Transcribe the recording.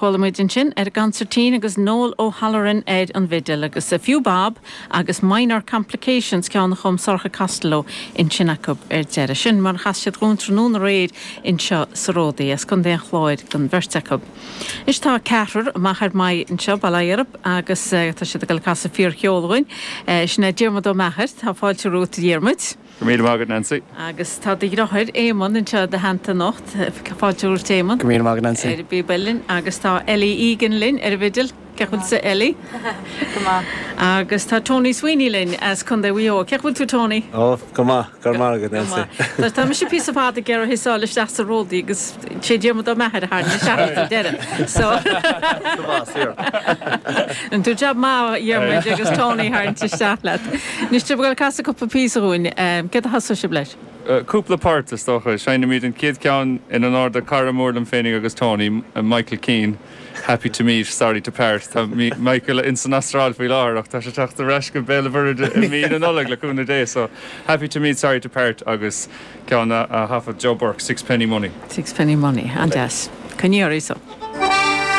Chuala muid ansin ar an gconsairtín agus Noel O'Halloran ar an bhfidil agus A Few Bob agus Minor Complications, ceann a chum Sorcha Costello ansin acu ar deireadh. Sin mar a chas siad dhúinn tráthnóna aréir anseo sa Ródaí, as Contae an Chláir don bheirt acu. Anois tá ceathrar amach ar m'aghaidh anseo, bail ó Dhia orthu, agus tá siad ag dul ag casadh fíorcheol dhúinn. Sin é Diarmuid Ó Meachair, tá fáilte romhat a Dhiarmuid. Go raibh míle maith agat, Nancy. Agus tá do dheartháir, Éamonn, anseo i do theannta anocht. Fáilte romhat, Éamonn. Go raibh míle maith agat, Nancy. Ar an bpíob uilleann. Agus tá Ellie Egan linn ar an bhfidil. Cén chaoi a bhfuil tusa, Ellie? Go maith. Agus tá Tony Sweeney linn as Contae Mhaigh Eo. Cén chaoi a bhfuil tú, Tony? Ó, go maith. Go raibh maith agat, Nancy. Go maith. Tá mise píosa fada ag iarraidh thusa a fháil isteach sa Ródaí agus sé Diarmuid Ó Meachair a tharraing isteach sa deireadh. So. Go maith, saor. Rinne tú jab maith, a Dhiarmuid, agus Tony a tharraingt isteach leat. Anois, tá sibh ag dul ag casadh cúpla píosa dhúinn. Céard a thosóidh sibh leis? Cúpla port, is dócha. Seinnimid an chéad cheann in onóir do chara mór liom féinig agus Tony, Michael Keane, Happy to meet, sorry to part. Tá Michael ins an Astráil faoi láthair ach tá sé ag teacht ar ais go Béal an Mhuirthead i mí na Nollag le cúnamh Dé. So, Happy to meet, sorry to part agus ceann a thaifead Joe Burke, Sixpenny Money. Sixpenny Money. An-deas. Coinnigh oraibh so.